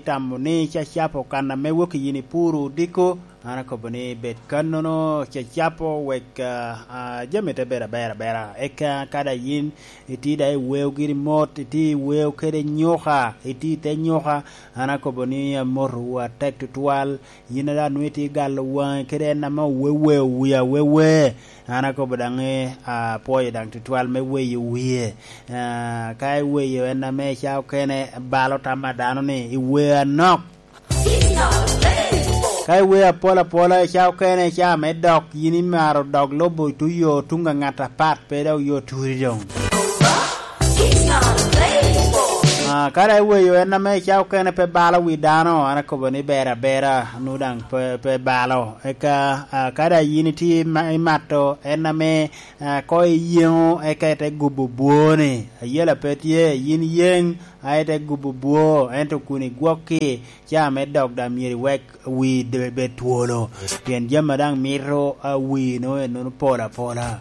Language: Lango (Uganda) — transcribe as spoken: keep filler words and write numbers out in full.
tamo ni cacapo kan ame wok i yin ipuro odiko, an akobo ni bed kannono cacapo wek, ah, ah, jami te bedo aber abera. Eka ka daŋ yin itye daŋ i weo giri mot, itye i weo kede nyuka, itye i te nyuka, an akobo ni amotowu atek tutwal. Yin a daŋ nwoŋo itye galo waŋi kede en ame oweweo wie awewe. An akobo daŋ ni, ah, apwoyo daŋ tutwal me weyo wie. Ah, ka iweyo en ame ca okene balo tam a dano ni iweo anok. Ka iweo apol apola i ca okene, i ca me dok, yin imaro dok lubo tuyo tuŋ a ŋat apat, pe dok yo turi doŋ. Ah, ka daŋ iweyo en ame i ca okene pe balo wi dano, an akobo ni ber abera, nu daŋ pe, pe balo. Eka, ah, ka daŋ yin itye ima-, imato en ame, ah, ko iyeŋo, eka ite gubo bwoni. Ayela pe tye, yin yeŋ, a ite gubo bwo, ento kun igwokki, ca me dok daŋ myero iwek wi de-, bed twolo. Pien jami a daŋ mito, ah, wi nwoŋo ennono pol apola.